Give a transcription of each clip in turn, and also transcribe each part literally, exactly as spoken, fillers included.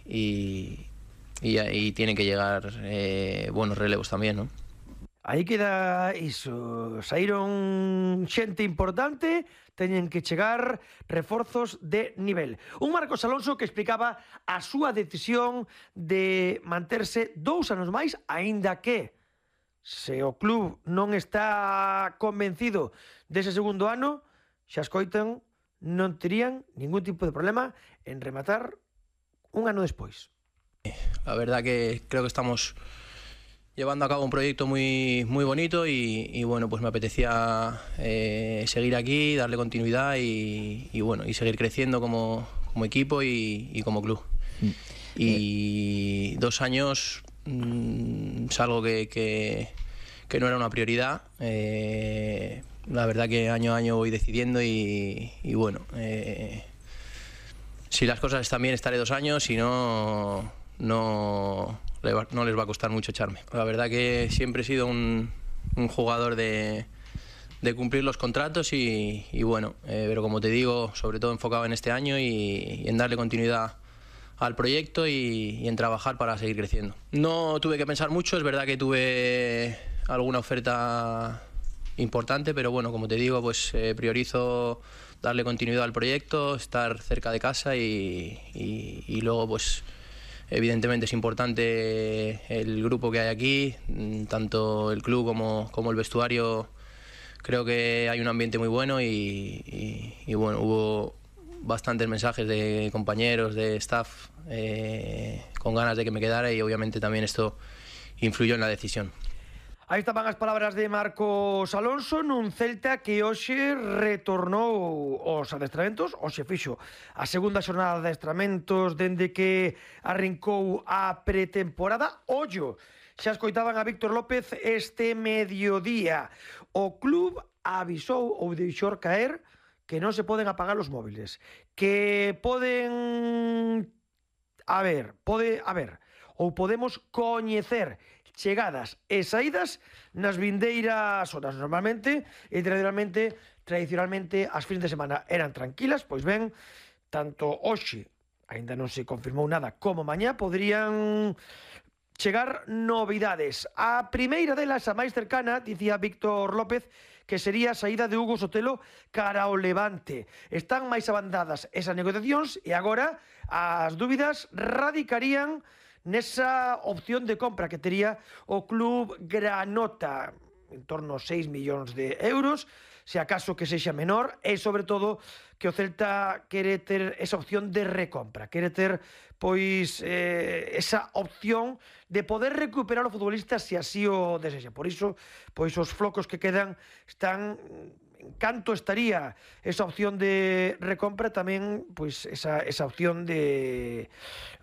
y, y, y, y tienen que llegar eh, buenos relevos tamén, ¿no? Aí queda iso, saíron xente importante, teñen que chegar reforzos de nivel. Un Marcos Alonso que explicaba a súa decisión de manterse dous anos máis, aínda que se o club non está convencido dese segundo ano, xa escoitan, non terían ningún tipo de problema en rematar un ano despois. La verdad que creo que estamos llevando a cabo un proyecto muy, muy bonito y, y bueno, pues me apetecía eh, seguir aquí, darle continuidad y, y bueno, y seguir creciendo como, como equipo y, y como club. Mm. Y eh. dos años mmm, es algo que, que, que no era una prioridad. Eh, la verdad que año a año voy decidiendo y, y bueno, eh, si las cosas están bien estaré dos años, si no, no... no les va a costar mucho echarme. La verdad que siempre he sido un, un jugador de, de cumplir los contratos y, y bueno, eh, pero como te digo, sobre todo enfocado en este año y, y en darle continuidad al proyecto y, y en trabajar para seguir creciendo. No tuve que pensar mucho, es verdad que tuve alguna oferta importante, pero bueno, como te digo, pues eh, priorizo darle continuidad al proyecto, estar cerca de casa y, y, y luego pues evidentemente es importante el grupo que hay aquí, tanto el club como, como el vestuario. Creo que hay un ambiente muy bueno y, y, y bueno, hubo bastantes mensajes de compañeros, de staff, eh, con ganas de que me quedara y obviamente también esto influyó en la decisión. Aí estaban as palabras de Marcos Alonso nun Celta que hoxe retornou aos adestramentos, hoxe fixo a segunda xornada de adestramentos dende que arrincou a pretemporada. Ollo, xa escoitaban a Víctor López este mediodía. O club avisou ou deixou caer que non se poden apagar os móviles, que poden... A ver, pode... A ver, ou podemos coñecer chegadas e saídas nas vindeiras horas. Normalmente e tradicionalmente, tradicionalmente as fins de semana eran tranquilas, pois ben, tanto hoxe, aínda non se confirmou nada, como mañá poderían chegar novidades. A primeira delas, a máis cercana, dicía Víctor López, que sería a saída de Hugo Sotelo cara ao Levante. Están máis avanzadas esas negociacións e agora as dúbidas radicarían nesa opción de compra que tería o club granota, en torno a seis millóns de euros, se acaso que sexa menor, e sobre todo que o Celta quere ter esa opción de recompra, quere ter pois eh, esa opción de poder recuperar o futbolista se así o desexa. Por iso, pois os flocos que quedan están... En canto estaría esa opción de recompra, tamén pois esa, esa opción de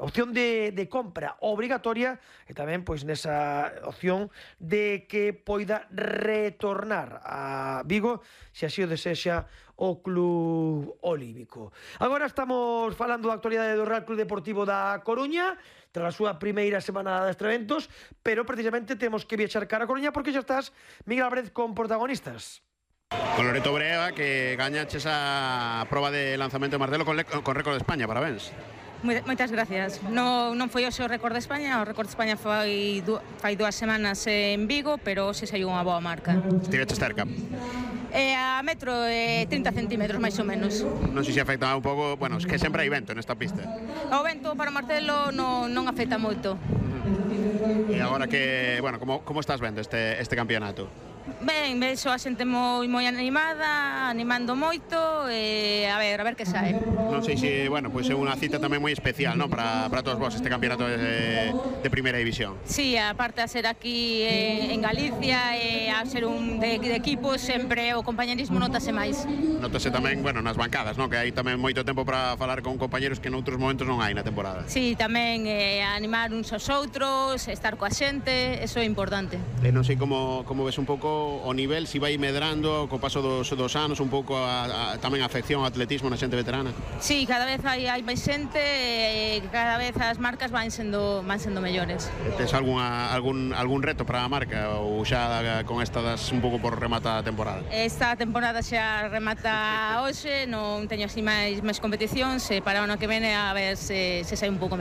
opción de, de compra obrigatoria e tamén pois nesa opción de que poida retornar a Vigo se así o desexa o club olímpico. Agora estamos falando da actualidade do Real Club Deportivo da Coruña tras a súa primeira semana de adestramentos, pero precisamente temos que viaxar cara a Coruña porque xa estás, Miguel Álvarez, con protagonistas. Con Loreto Brea, que gañaches a proba de lanzamento de martelo con, con récord de España, parabéns. Moitas gracias. Non, non foi hoxe o récord de España, o récord de España foi du, fai dúas semanas en Vigo, pero hoxe saiu unha boa marca. Estiveches cerca? Eh, a metro e eh, trinta centímetros máis ou menos. Non sei se afecta un pouco, bueno, es que sempre hai vento nesta pista. O vento para o martelo non, non afecta moito. E agora que, bueno, como, como estás vendo este, este campeonato? Ben, vexo a xente moi moi animada, animando moito e a ver, a ver que sae. Non sei se, bueno, pois é unha cita tamén moi especial, non, para para todos vos este campeonato de, de primeira división. Sí, aparte a ser aquí en, en Galicia e a ser un de, de equipo, sempre o compañerismo notase máis. Notase tamén, bueno, nas bancadas, non, que hai tamén moito tempo para falar con compañeros que noutros momentos non hai na temporada. Sí, tamén eh, animar uns aos outros, estar coa xente, eso é importante. E non sei como como ves un pouco o nivel, si vai medrando co paso dos, dos anos un pouco a, a, tamén a afección ao atletismo na xente veterana. Sí, cada vez hai, hai máis xente e cada vez as marcas van sendo van sendo mellores. Tes algunha, algún, algún reto para a marca ou xa con esta das un pouco por remata a temporada? Esta temporada xa remata hoxe, non teño así máis, máis competicións e para o ano que vene a ver se, se sai un pouco